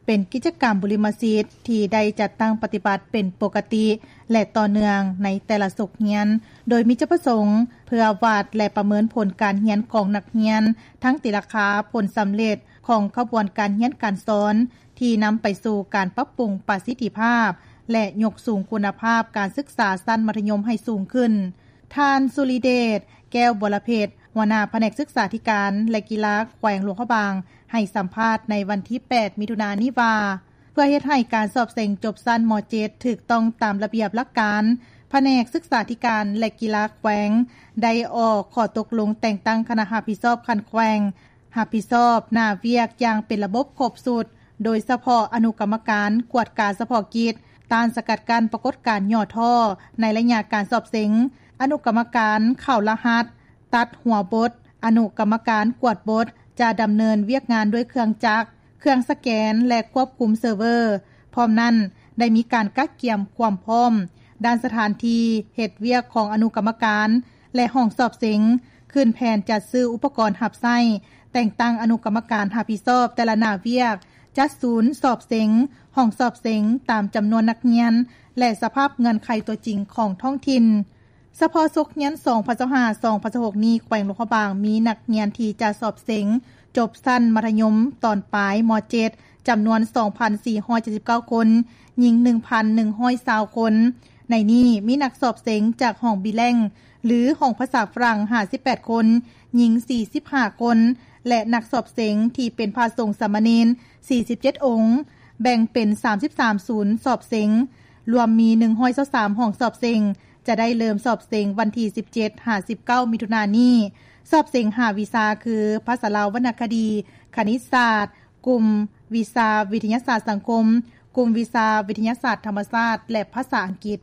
ເປັນກິດຈະກຳບຸລິມະສິດທີ່ໄດ້ຈັດຕັ້ງປະຕິບັດເປັນປົກກະຕິ ແລະ ຕໍ່ເນື່ອງໃນແຕ່ລະສົກຮຽນ, ໂດຍມີຈຸດປະສົງເພື່ອວັດ ແລະ ປະເມີນຜົນການຮຽນຂອງນັກຮຽນ, ທັງຕີລາຄາຜົນສຳເລັດຂອງຂະບວນການຮຽນການສອນ ທີ່ນຳໄປສູ່ການປັບປຸງປະສິດທິພາບ ແລະ ຍົກສູງຄຸນນະພາບການສຶກສາຊັ້ນມັດທະຍົມໃຫ້ສູງຂຶ້ນ. ທ່ານ ສຸລິເດດ ແກ້ວບົວລະເພັດ ຫົວໜ້າພະແນກສຶກສາທິການ ແລະ ກິລາແຂວງຫຼວງພະບາງ ໃຫ້ສຳພາດໃນວັນທີແປດ ມິຖຸນານີ້ວ່າ ເພື່ອເຮັດໃຫ້ການສອບເສັງຈົບຊັ້ນ ມ.ເຈັດ ຖືກຕ້ອງຕາມລະບຽບຫຼັກການ, ພະແນກສຶກສາທິການ ແລະ ກິລາແຂວງ ໄດ້ອອກຂໍ້ຕົກລົງແຕ່ງຕັ້ງຄະນະຮັບຜິດຊອບຂັ້ນແຂວງ ຮັບຜິດຊອບໜ້າວຽກຢ່າງເປັນລະບົບຄົບຊຸດ, ໂດຍສະເພາະອະນຸກຳມະການກວດກາສະເພາະກິດ ຕ້ານສະກັດກັ້ນປາກົດການຫຍໍ້ທໍ້ໃນໄລຍະການສອບເສັງ, ອະນຸກຳມະການເຂົ້າລະຫັດ, ຕັດຫົວບົດ, ອະນຸກຳມະການກວດບົດ ຈະດຳເນີນວຽກງານດ້ວຍເຄື່ອງຈັກ, ເຄື່ອງສະແກນ ແລະ ຄວບຄຸມເຊີເວີ. ພ້ອມນັ້ນ, ໄດ້ມີການກະກຽມຄວາມພ້ອມດ້ານສະຖານທີ່ເຮັດວຽກຂອງອະນຸກຳມະການ ແລະ ຫ້ອງສອບເສັງ, ຂຶ້ນແຜນຈັດຊື້ອຸປະກອນຮັບໃຊ້, ແຕ່ງຕັ້ງອະນຸກຳມະການຮັບຜິດຊອບແຕ່ລະໜ້າວຽກ, ຈັດສູນສອບເສັງ, ຫ້ອງສອບເສັງຕາມຈຳນວນນັກຮຽນ ແລະ ສະພາບເງື່ອນໄຂຕົວຈິງຂອງທ້ອງຖິ່ນ. ສະເພາະສົກຮຽນ ສອງພັນຊາວຫ້າ ສອງພັນຊາວຫົກ ນີ້ ແຂວງຫຼວງພະບາງມີນັກຮຽນທີ່ຈະສອບເສັງຈົບຊັ້ນມັດທະຍົມຕອນປາຍ ມ.ເຈັດ ຈຳນວນ ສອງພັນສີ່ຮ້ອຍເຈັດສິບເກົ້າຄົນ, ຍິງ ໜຶ່ງພັນໜຶ່ງຮ້ອຍຊາວຄົນ. ໃນນີ້ມີນັກສອບເສັງຈາກຫ້ອງບິແລັງ ຫຼື ຫ້ອງພາສາຝຣັ່ງ ຫ້າສິບແປດຄົນ, ຍິງ ສີ່ສິບຫ້າຄົນ ແລະ ນັກສອບເສັງທີ່ເປັນພະສົງສາມະເນນ ສີ່ສິບເຈັດອົງ, ແບ່ງເປັນ ສາມສິບສາມສູນສອບເສັງ, ລວມມີ ໜຶ່ງຮ້ອຍຊາວສາມຫ້ອງສອບເສັງ, ຈະໄດ້ເລີ່ມສອບເສັງວັນທີ ສິບເຈັດ ຫາ ສິບເກົ້າ ມິຖຸນານີ້. ສອບເສັງຫ້າວິຊາຄື ພາສາລາວວັນນະຄະດີ, ຄະນິດສາດ, ກຸ່ມວິຊາວິທະຍາສາດສັງຄົມ, ກຸ່ມວິຊາວິທະຍາສາດທຳມະຊາດ ແລະ ພາສາອັງກິດ.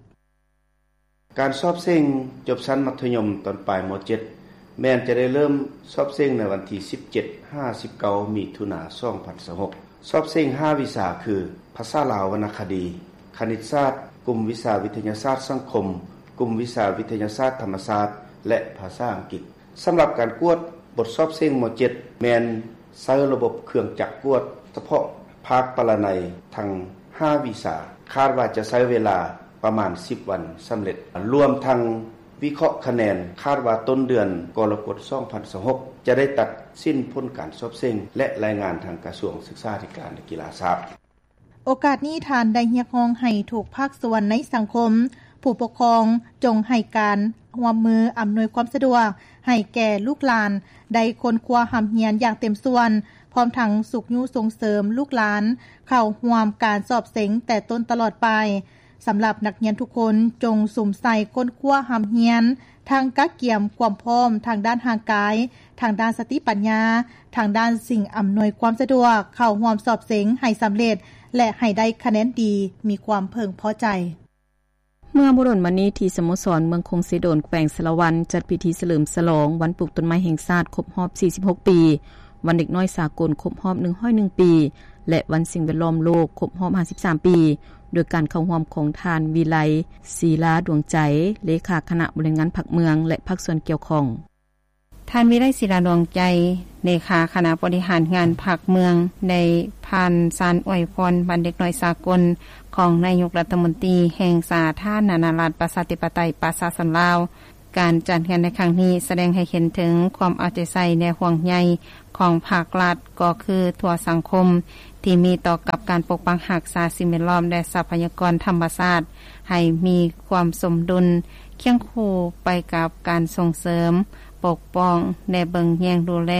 ການສອບເສັງຈົບຊັ້ນມັດທະຍົມຕອນປາຍ ມ.ເຈັດ ແມ່ນຈະໄດ້ເລີ່ມສອບເສັງໃນວັນທີ ສິບເຈັດ ຫາ ສິບເກົ້າ ມິຖຸນາ ສອງພັນຊາວຫົກ. ສອບເສັງຫ້າວິຊາຄື ພາສາລາວວັນນະຄະດີ, ຄະນິດສາດ, ກຸ່ມວິຊາວິທະຍາສາດສັງຄົມ, ກຸ່ມວິຊາວິທະຍາສາດທຳມະຊາດ ແລະ ພາສາອັງກິດ. ສຳລັບການກວດບົດສອບເສັງ ມ.ເຈັດ ແມ່ນໃຊ້ລະບົບເຄື່ອງຈັກກວດສະເພາະພາກປະລະໄນທັງຫ້າວິຊາ, ຄາດວ່າຈະໃຊ້ເວລາປະມານ ສິບ ວັນສຳເລັດ, ລວມທັງວິເຄາະຄະແນນ, ຄາດວ່າຕົ້ນເດືອນກໍລະກົດ ສອງພັນຊາວຫົກ ຈະໄດ້ຕັດສິນຜົນການສອບເສັງ ແລະ ລາຍງານທາງກະຊວງສຶກສາທິການ ແລະ ກິລາຊາບ. ໂອກາດນີ້ ທ່ານໄດ້ຮຽກຮ້ອງໃຫ້ທຸກພາກສ່ວນໃນສັງຄົມ, ຜູ້ປົກຄອງ ຈົ່ງໃຫ້ການຮ່ວມມືອຳນວຍຄວາມສະດວກໃຫ້ແກ່ລູກຫຼານໄດ້ຄົ້ນຄວ້າຮ່ຳຮຽນຢ່າງເຕັມສ່ວນ, ພ້ອມທັງຊຸກຍູ້ສົ່ງເສີມລູກຫຼານເຂົ້າຮ່ວມການສອບເສັງແຕ່ຕົ້ນຕະຫຼອດໄປ. ສຳລັບນັກຮຽນທຸກຄົນ ຈົ່ງສຸມໃສ່ຄົ້ນຄວ້າຮ່ຳຮຽນ, ທັງກະກຽມຄວາມພ້ອມທາງດ້ານຮ່າງກາຍ, ທາງດ້ານສະຕິປັນຍາ, ທາງດ້ານສິ່ງອຳນວຍຄວາມສະດວກ, ເຂົ້າຮ່ວມສອບເສັງໃຫ້ສຳເລັດ ແລະ ໃຫ້ໄດ້ຄະແນນດີ, ມີຄວາມເພິ່ງພໍໃຈ. ເມື່ອບໍ່ດົນມານີ້ ທີ່ສະໂມສອນເມືອງຄົງເຊໂດນ ແຂວງສາລະວັນ ຈັດພິທີສະເຫຼີມສະຫຼອງວັນປູກຕົ້ນໄມ້ແຫ່ງຊາດຄົບຮອບ ສີ່ສິບຫົກ ປີ, ວັນເດັກນ້ອຍສາກົນຄົບຮອບ ໜຶ່ງຮ້ອຍເອັດ ປີ ແລະ ວັນສິ່ງແວດລ້ອມໂລກຄົບຮອບ ຫ້າສິບສາມ ປີ, ໂດຍການເຂົ້າຮ່ວມຂອງທ່ານ ວິໄລ ສີລາດວງໃຈ ເລຂາຄະນະບໍລິຫານງານພັກເມືອງ ແລະ ພາກສ່ວນກ່ຽວຂ້ອງ. ທ່ານ ວິໄລ ສີລາດວງໃຈ ເລຂາຄະນະບໍລິຫານງານພັກເມືອງ ໄດ້ຜ່ານສານອວຍພອນວັນເດັກນ້ອຍສາກົນ ຂອງນາຍົກລັດຖະມົນຕີແຫ່ງສາທາລະນະລັດ ປະຊາທິປະໄຕ ປະຊາຊົນລາວ ການຈັດງານໃນຄັ້ງນີ້ ສະແດງໃຫ້ເຫັນເຖິງຄວາມເອົາໃຈໃສ່ ແລະ ຫ່ວງໃຍຂອງພາກລັດ ກໍຄືທົ່ວສັງຄົມ ທີ່ມີຕໍ່ກັບການປົກປັກຮັກສາສິ່ງແວດລ້ອມ ແລະ ຊັບພະຍາກອນທຳມະຊາດ ໃຫ້ມີຄວາມສົມດຸນ ຄຽງຄູ່ໄປກັບການສົ່ງເສີມ, ປົກປ້ອງ ແລະ ເບິ່ງແຍງດູແລ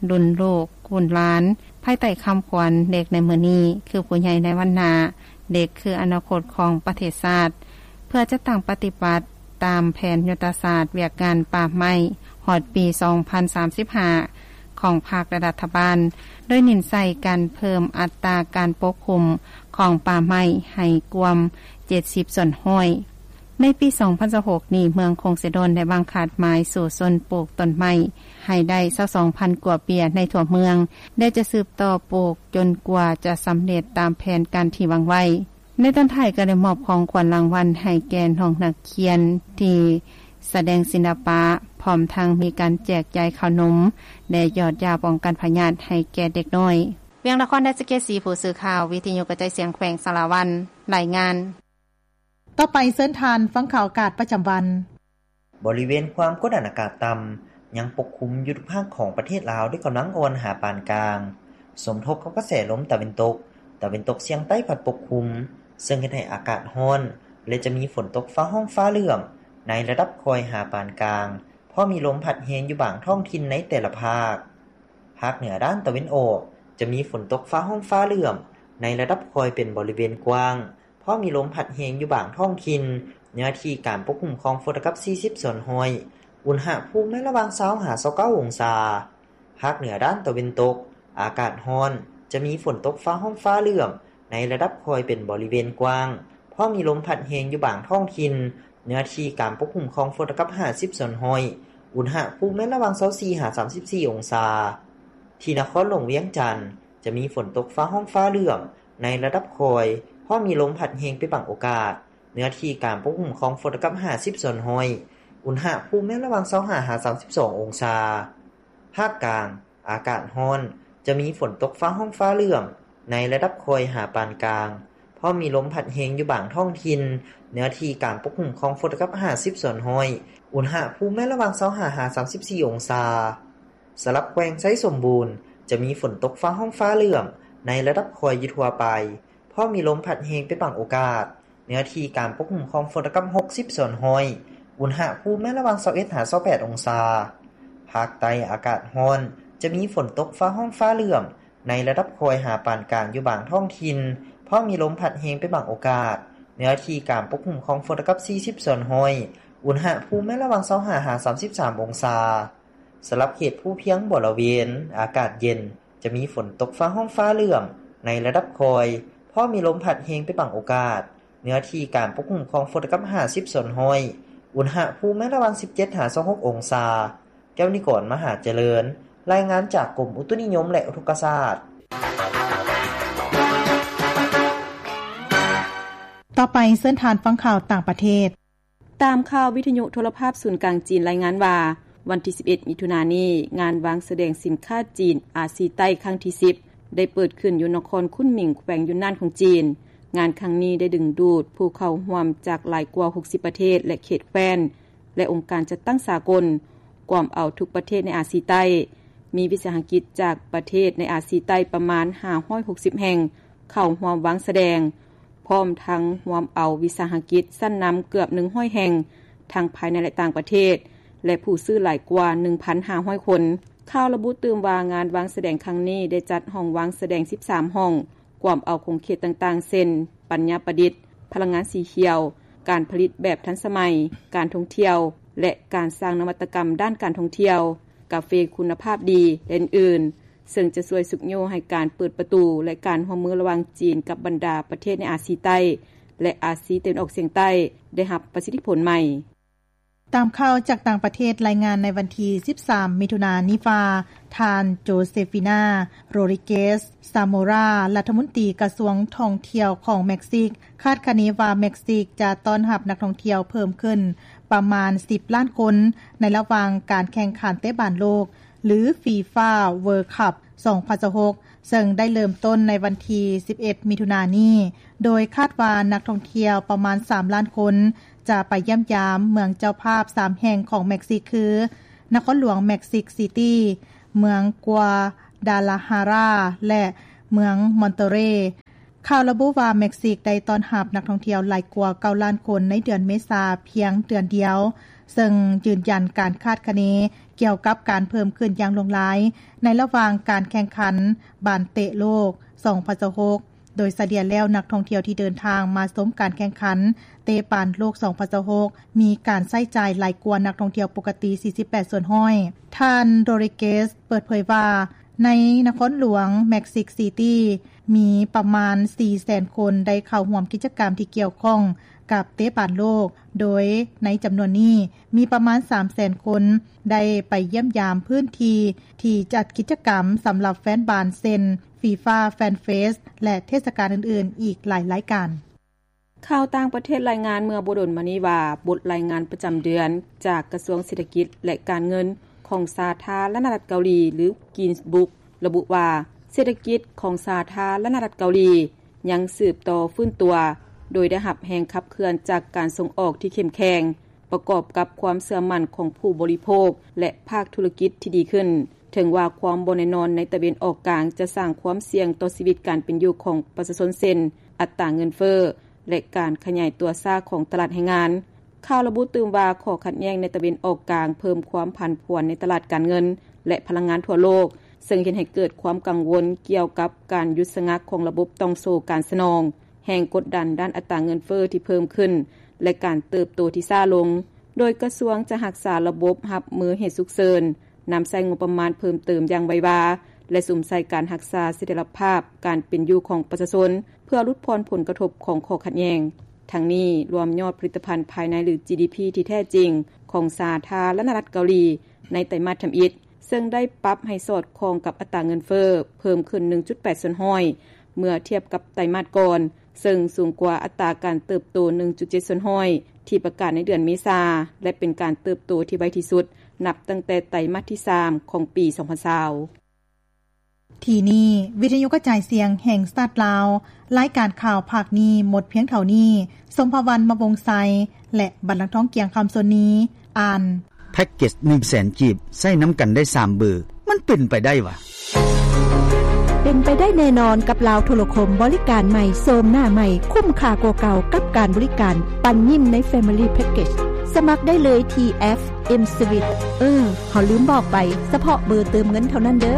ລຸ້ນລູກ, ລຸ້ນຫຼານ ພາຍໃຕ້ຄຳຂວັນ ເດັກໃນມື້ນີ້ ຄືຜູ້ໃຫຍ່ໃນວັນໜ້າ, ເດັກຄືອະນາຄົດຂອງປະເທດຊາດ ເພື່ອຈັດຕັ້ງປະຕິບັດຕາມແຜນຍຸດທະສາດວຽກງານປ່າໄມ້ ຮອດປີສອງພັນສາມສິບຫ້າ ຂອງພັກ ແລະ ລັດຖະບານ, ໂດຍເນັ້ນໃສ່ການເພີ່ມອັດຕາການປົກຄຸມຂອງປ່າໄມ້ໃຫ້ກວມເຈັດສິບສ່ວນຮ້ອຍ. ໃນປີສອງພັນຊາວຫົກນີ້, ເມືອງຄົງເຊໂດນໄດ້ວາງຄາດໝາຍສູ້ຊົນປູກຕົ້ນໄມ້ໃຫ້ໄດ້ຊາວສອງພັນກວ່າເປັຍໃນທົ່ວເມືອງ ແລະ ຈະສືບຕໍ່ປູກຈົນກວ່າຈະສຳເລັດຕາມແຜນການທີ່ວາງໄວ້. ໃນຕອນທ້າຍກໍໄດ້ມອບຂອງຂວັນລາງວັນໃຫ້ແກ່ນ້ອງນັກຮຽນທີ່ສະແດງສິລະປະ, ພ້ອມທັງມີການແຈກຢາຍເຂົ້າໜົມ ແລະ ຢອດຢາປ້ອງກັນພະຍາດໃຫ້ແກ່ເດັກນ້ອຍ. ວຽງນະຄອນ ໄດ້ສະເກດສີ ຜູ້ສື່ຂ່າວວິທະຍຸກະຈາຍສຽງແຂວງສາລະວັນ ລາຍງານ. ຕໍ່ໄປເຊີນທ່ານຟັງຂ່າວອາກາດປະຈຳວັນ. ບໍລິເວນຄວາມກົດອາກາດຕ່ຳຍັງປົກຄຸມຢູ່ທຸກພາກຂອງປະເທດລາວ ດ້ວຍກຳລັງອ່ອນຫາປານກາງ, ສົມທົບກັບກະແສລົມຕາເວັນຕົກ, ຕາເວັນຕົກສຽງໃຕ້ພັດປົກຄຸມ, ເຊິ່ງເຮັດໃຫ້ອາກາດຮ້ອນ ແລະ ຈະມີຝົນຕົກຟ້າຮ້ອງຟ້າເຫຼື້ອມໃນລະດັບຄ່ອຍຫາປານກາງ, ພໍມີລົມພັດແຮງຢູ່ບາງທ້ອງຖິ່ນໃນແຕ່ລະພາກ. ພາກເໜືອດ້ານຕາເວັນອອກ ຈະມີຝົນຕົກຟ້າຮ້ອງຟ້າເຫຼື້ອມໃນລະດັບຄ່ອຍເປັນບໍລິເວນກວ້າງ, ພໍມີລົມພັດແຮງຢູ່ບາງທ້ອງຖິ່ນ, ເນື້ອທີ່ການປົກຄຸມຂອງຝົນລະດັບສີ່ສິບສ່ວນຮ້ອຍ, ອຸນຫະພູມແມ່ນລະຫວ່າງຊາວຫາຊາວເກົ້າອົງສາ. ພາກເໜືອດ້ານຕາເວັນຕົກ ອາກາດຮ້ອນ, ຈະມີຝົນຕົກຟ້າຮ້ອງຟ້າເຫຼື້ອມໃນລະດັບຄ່ອຍເປັນບໍລິເວນກວ້າງ, ພໍມີລົມພັດແຮງຢູ່ບາງທ້ອງຖິ່ນ, ເນື້ອທີ່ການປົກຄຸມຂອງຝົນລະດັບຫ້າສິບສ່ວນຮ້ອຍ, ອຸນຫະພູມແມ່ນລະຫວ່າງຊາວສີ່ຫາສາມສິບສີ່ອົງສາ. ທີ່ນະຄອນຫຼວງວຽງຈັນ ຈະມີຝົນຕົກຟ້າຮ້ອງຟ້າເຫຼື້ອມໃນລະດັບຄ່ອຍ, ພໍມີລົມພັດແຮງເປັນບາງໂອກາດ, ເນື້ອທີ່ການປົກຄຸມຂອງຝົນລະດັບຫ້າສິບສ່ວນຮ້ອຍ, ອຸນຫະພູມແມ່ນລະຫວ່າງຊາວຫ້າຫາສາມສິບສອງອົງສາ. ພາກກາງ ອາກາດຮ້ອນ, ຈະມີຝົນຕົກຟ້າຮ້ອງຟ້າເຫຼື້ອມໃນລະດັບຄ່ອຍຫາປານກາງ, ພໍມີລົມພັດແຮງຢູ່ບາງທ້ອງຖິ່ນ, ເນື້ອທີ່ການປົກຄຸມຂອງຝົນລະດັບຫ້າສິບສ່ວນຮ້ອຍ, ອຸນຫະພູມແມ່ນລະຫວ່າງຊາວຫ້າຫາສາມສິບສີ່ອົງສາ. ສຳລັບແຂວງໄຊສົມບູນ ຈະມີຝົນຕົກຟ້າຮ້ອງຟ້າເຫຼື້ອມໃນລະດັບຄ່ອຍຢູ່ທົ່ວໄປ, ພໍມີລົມພັດແຮງເປັນບາງໂອກາດ, ເນື້ອທີ່ການປົກຄຸມຂອງຝົນລະດັບຫົກສິບສ່ວນຮ້ອຍ, ອຸນຫະພູມແມ່ນລະຫວ່າງຊາວເອັດຫາຊາວແປດອົງສາ. ພາກໃຕ້ອາກາດຮ້ອນ, ຈະມີຝົນຕົກຟ້າຮ້ອງຟ້າເຫຼື້ອມໃນລະດັບຄ່ອຍຫາປານກາງຢູ່ບາງທ້ອງຖິ່ນ, ພໍມີລົມພັດແຮງເປັນບາງໂອກາດ, ເນື້ອທີ່ການປົກຄຸມຂອງຝົນລະດັບສີ່ສິບສ່ວນຮ້ອຍ, ອຸນຫະພູມແມ່ນລະຫວ່າງຊາວຫ້າຫາສາມສິບສາມອົງສາ. ສຳລັບເຂດພູພຽງບໍລະເວນ ອາກາດເຢັນ, ຈະມີຝົນຕົກຟ້າຮ້ອງຟ້າເຫຼື້ອມໃນລະດັບຄ່ອຍ, ພໍມີລົມພັດແຮງເປັນບາງໂອກາດ, ເນື້ອທີ່ການປົກຄຸມຂອງຝົນລະດັບຫ້າສິບສ່ວນຮ້ອຍ, ອຸນຫະພູມແມ່ນລະຫວ່າງສິບເຈັດຫາຊາວຫົກອົງສາ. ແກ້ວນິກອນ ມະຫາຈະເລີນ, ລາຍງານຈາກກົມອຸຕຸນິຍົມ ແລະ ອຸທົກກະສາດ. ຕໍ່ໄປເຊີນທ່ານຟັງຂ່າວຕ່າງປະເທດ. ຕາມຂ່າວວິທະຍຸໂທລະພາບສູນກາງຈີນລາຍງານວ່າ, ວັນທີສິບເອັດ ມິຖຸນານີ້, ງານວາງສະແດງສິນຄ້າຈີນອາຊີໃຕ້ຄັ້ງທີສິບ ໄດ້ເປີດຂຶ້ນຢູ່ນະຄອນຄຸນໝິງ ແຂວງຢຸນນານຂອງຈີນ. ງານຄັ້ງນີ້ໄດ້ດຶງດູດຜູ້ເຂົ້າຮ່ວມຈາກຫຼາຍກວ່າຫົກສິບປະເທດ ແລະ ເຂດແຄວ້ນ ແລະ ອົງການຈັດຕັ້ງສາກົນ, ກວມເອົາທຸກປະເທດໃນອາຊີໃຕ້. ມີວິສາຫະກິດຈາກປະເທດໃນອາຊີໃຕ້ປະມານຫ້າຮ້ອຍຫົກສິບແຫ່ງເຂົ້າຮ່ວມວາງສະແດງ, ພ້ອມທັງຮວມເອົາວິສາຫະກິດຊັ້ນນຳເກືອບໜຶ່ງຮ້ອຍແຫ່ງ ທັງພາຍໃນ ແລະ ຕ່າງປະເທດ ແລະ ຜູ້ຊື້ຫຼາຍກວ່າໜຶ່ງພັນຫ້າຮ້ອຍຄົນ. ຂ່າວລະບຸຕື່ມວ່າ ງານວາງສະແດງຄັ້ງນີ້ໄດ້ຈັດຫ້ອງວາງສະແດງສິບສາມຫ້ອງ, ກວມເອົາຂົງເຂດຕ່າງໆ ເຊັ່ນ ປັນຍາປະດິດ, ພະລັງງານສີຂຽວ, ການຜະລິດແບບທັນສະໄໝ, ການທ່ອງທ່ຽວ ແລະ ການສ້າງນະວັດຕະກຳດ້ານການທ່ອງທ່ຽວ, ກາເຟຄຸນນະພາບດີ ແລະ ອື່ນໆ, ເຊິ່ງຈະຊ່ວຍຊຸກຍູ້ໃຫ້ການເປີດປະຕູ ແລະ ການຮ່ວມມືລະຫວ່າງຈີນກັບບັນດາປະເທດໃນອາຊີໃຕ້ ແລະ ອາຊີຕາເວັນອອກສຽງໃຕ້ ໄດ້ຮັບປະສິດທິຜົນໃໝ່. ຕາມຂ່າວຈາກຕ່າງປະເທດລາຍງານໃນວັນທີສິບສາມ ມິຖຸນານີ້ວ່າ, ທ່ານ ໂຈເຊຟີນາ ໂຣດຣິເກສ ຊາໂມຣາ ລັດຖະມົນຕີກະຊວງທ່ອງທ່ຽວຂອງເມັກຊິກ ຄາດຄະເນວ່າເມັກຊິກຈະຕ້ອນຮັບນັກທ່ອງທ່ຽວເພີ່ມຂຶ້ນປະມານສິບລ້ານຄົນ ໃນລະຫວ່າງການແຂ່ງຂັນເຕະບານໂລກ ຫຼື ຟີຟາ ເວີລຄັບ ສອງພັນຊາວຫົກ ເຊິ່ງໄດ້ເລີ່ມຕົ້ນໃນວັນທີສິບເອັດ ມິຖຸນານີ້, ໂດຍຄາດວ່ານັກທ່ອງທ່ຽວປະມານສາມລ້ານຄົນ ຈະໄປຢ້ຽມຢາມເມືອງເຈົ້າພາບສາມແຫ່ງຂອງເມັກຊິກ ຄື ນະຄອນຫຼວງເມັກຊິກຊີຕີ້, ເມືອງກົວດາລາຮາຣາ ແລະ ເມືອງມອນເຕີເຣ. ຂ່າວລະບຸວ່າ ເມັກຊິກໄດ້ຕ້ອນຮັບນັກທ່ອງທ່ຽວຫຼາຍກວ່າເກົ້າລ້ານຄົນໃນເດືອນເມສາພຽງເດືອນດຽວ, ເຊິ່ງຢືນຢັນການຄາດຄະເນກ່ຽວກັບການເພີ່ມຂຶ້ນຢ່າງຫຼວງຫຼາຍໃນລະຫວ່າງການແຂ່ງຂັນບານເຕະໂລກສອງພັນຊາວຫົກ. ໂດຍສະເລ່ຍແລ້ວ ນັກທ່ອງທ່ຽວທີ່ເດີນທາງມາຊົມການແຂ່ງຂັນເຕະບານໂລກສອງພັນຊາວຫົກ ມີການໃຊ້ຈ່າຍຫຼາຍກວ່ານັກທ່ອງທ່ຽວປົກກະຕິສີ່ສິບແປດສ່ວນຮ້ອຍ. ທ່ານ ໂດຣິເກສ ເປີດເຜີຍວ່າ ໃນນະຄອນຫຼວງເມັກຊິກຊີຕີ້ ມີປະມານສີ່ແສນຄົນໄດ້ເຂົ້າຮ່ວມກິດຈະກຳທີ່ກ່ຽວຂ້ອງກັບເຕະບານໂລກ, ໂດຍໃນຈຳນວນນີ້ ມີປະມານສາມແສນຄົນໄດ້ໄປຢ້ຽມຢາມພື້ນທີ່ທີ່ຈັດກິດຈະກຳສຳລັບແຟນບານ ເຊັ່ນ ຟີຟາ ແຟນເຟສ ແລະ ເທດສະການອື່ນໆ ອີກຫຼາຍລາຍການ. ຂ່າວຕ່າງປະເທດລາຍງານເມື່ອບໍ່ດົນມານີ້ວ່າ ບົດລາຍງານປະຈຳເດືອນຈາກກະຊວງເສດຖະກິດ ແລະ ການເງິນຂອງສາທາລະນະລັດເກົາຫຼີ ຫຼື Guinness Book ລະບຸວ່າ ເສດຖະກິດຂອງສາທາລະນະລັດເກົາຫຼີຍັງສືບຕໍ່ຟື້ນຕົວ, ໂດຍໄດ້ຮັບແຮງຂັບເຄື່ອນຈາກການສົ່ງອອກທີ່ເຂັ້ມແຂງ ປະກອບກັບຄວາມເຊື່ອໝັ້ນຂອງຜູ້ບໍລິໂພກ ແລະ ພາກທຸລະກິດທີ່ດີຂຶ້ນ. ເຖິງວ່າຄວາມບໍ່ແນ່ນອນໃນຕາເວັນອອກກາງຈະສ້າງຄວາມສ່ຽງຕໍ່ຊີວິດການເປັນຢູ່ຂອງປະຊາຊົນ ເຊັ່ນ ອັດຕາເງິນເຟີ້ ແລະ ການຂະຫຍາຍຕົວຊ້າຂອງຕະຫຼາດແຮງງານ, ຂ່າວລະບຸຕື່ມວ່າ ຂໍ້ຂັດແຍ່ງໃນຕາເວັນອອກກາງເພີ່ມຄວາມຜັນຜວນໃນຕະຫຼາດການເງິນ ແລະ ພະລັງງານທົ່ວໂລກ, ເຊິ່ງເຮັດໃຫ້ເກີດຄວາມກັງວົນກ່ຽວກັບການຢຸດສະງັກຂອງລະບົບຕ່ອງໂສ້ການສະໜອງ, ແຮງກົດດັນດ້ານອັດຕາເງິນເຟີ້ທີ່ເພີ່ມຂຶ້ນ ແລະ ການເຕີບໂຕທີ່ຊ້າລົງ, ໂດຍກະຊວງຈະຮັກສາລະບົບຮັບມືເຫດສຸກເສີນ, ນຳໃຊ້ງົບປະມານເພີ່ມເຕີມຢ່າງໄວວາ ແລະ ສຸມໃສ່ການຮັກສາສະຖຽນລະພາບການເປັນຢູ່ຂອງປະຊາຊົນ ເພື່ອຫຼຸດຜ່ອນຜົນກະທົບຂອງຂໍ້ຂັດແຍ່ງ. ທັງນີ້, ລວມຍອດຜະລິດຕະພັນພາຍໃນ ຫຼື ຈີດີພີ ທີ່ແທ້ຈິງຂອງສາທາລະນະລັດເກົາຫຼີໃນໄຕມາດທຳອິດ, ເຊິ່ງໄດ້ປັບໃຫ້ສອດຄ່ອງກັບອັດຕາເງິນເຟີ້ ເພີ່ມຂຶ້ນໜຶ່ງຈຸດແປດສ່ວນຮ້ອຍ ເມື່ອທຽບກັບໄຕມາດກ່ອນ, ເຊິ່ງສູງກວ່າອັດຕາການເຕີບໂຕໜຶ່ງຈຸດເຈັດສ່ວນຮ້ອຍ ທີ່ປະກາດໃນເດືອນເມສາ ແລະ ເປັນການເຕີບໂຕທີ່ໄວທີ່ສຸດ ນັບຕັ້ງແຕ່ໄຕມາດທີສາມຂອງປີສອງພັນຊາວ. ທີ່ນີ້ ວິທະຍຸກະຈາຍສຽງແຫ່ງຊາດລາວ, ລາຍການຂ່າວພາກນີ້ໝົດພຽງເທົ່ານີ້. ສົມພະວັນ ມະວົງໄຊ ແລະ ບັນລັງທອງ ກຽງຄຳ ສ່ວນນີ້ ອ່ານ. ແພັກເກັດໜຶ່ງແສນກີບ ໃຊ້ນຳກັນໄດ້ສາມເບີ ມັນເປັນໄປໄດ້ຫວາ? ເປັນໄປໄດ້ແນ່ນອນກັບລາວໂທລະຄົມ, ບໍລິການໃໝ່, ໂສມໜ້າໃໝ່, ຄຸ້ມຄ່າກວ່າເກົ່າກັບການບໍລິການປັນຍິ້ມໃນ Family Package. ສະໝັກໄດ້ເລີຍທີ່ແອັບ M-Suite. ເອີ, ເຮົາລືມບອກໄປ, ສະເພາະເບີເຕີມເງິນເທົ່ານັ້ນເດີ.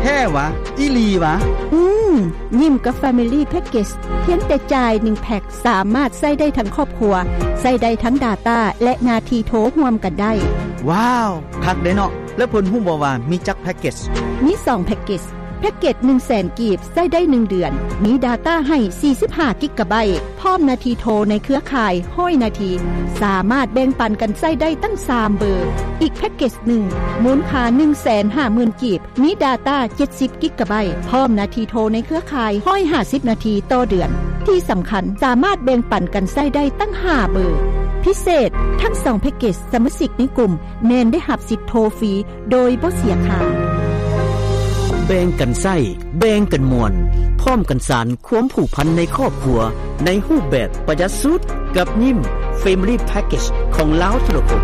ແທ້ຫວາ? ອີ່ຫຼີຫວາ? ອືມ, ຍິ້ມກັບ Family Package ພຽງແຕ່ຈ່າຍໜຶ່ງແພັກ ສາມາດໃຊ້ໄດ້ທັງຄອບຄົວ, ໃຊ້ໄດ້ທັງ data ແລະ ໜ້າທີ່ໂທຮ່ວມກັນໄດ້. ວ້າວ, ຄັກເດ້ເນາະ. ແລ້ວເພິ່ນຮູ້ບໍ່ວ່າມີຈັກແພັກເກັດ? ມີສອງແພັກເກັດ. ແພັກເກັດໜຶ່ງແສນກີບ ໃຊ້ໄດ້ໜຶ່ງເດືອນ, ມີ data ໃຫ້ສີ່ສິບຫ້າກິກກະໄບ, ພ້ອມໜ້າທີ່ໂທໃນເຄືອຂ່າຍຮ້ອຍນາທີ, ສາມາດແບ່ງປັນກັນໃຊ້ໄດ້ຕັ້ງສາມເບີ. ອີກແພັກເກັດໜຶ່ງ ມູນຄ່າໜຶ່ງແສນຫ້າໝື່ນກີບ, ມີ data ເຈັດສິບກິກກະໄບ, ພ້ອມໜ້າທີ່ໂທໃນເຄືອຂ່າຍຮ້ອຍຫ້າສິບນາທີຕໍ່ເດືອນ. ທີ່ສຳຄັນ, ສາມາດແບ່ງປັນກັນໃຊ້ໄດ້ຕັ້ງຫ້າເບີ. ພິເສດ, ທັງສອງແພັກເກັດ, ສະມາຊິກໃນກຸ່ມແມ່ນໄດ້ຮັບສິດໂທຟຣີໂດຍບໍ່ເສຍຄ່າ. ແບ່ງກັນໃຊ້, ແບ່ງກັນມ່ວນ, ພ້ອມກັນສານຄວາມຜູກພັນໃນຄອບຄົວ ໃນຮູບແບບປະຢັດສຸດ, ກັບຍິ້ມ Family Package ຂອງລາວໂທລະຄົມ.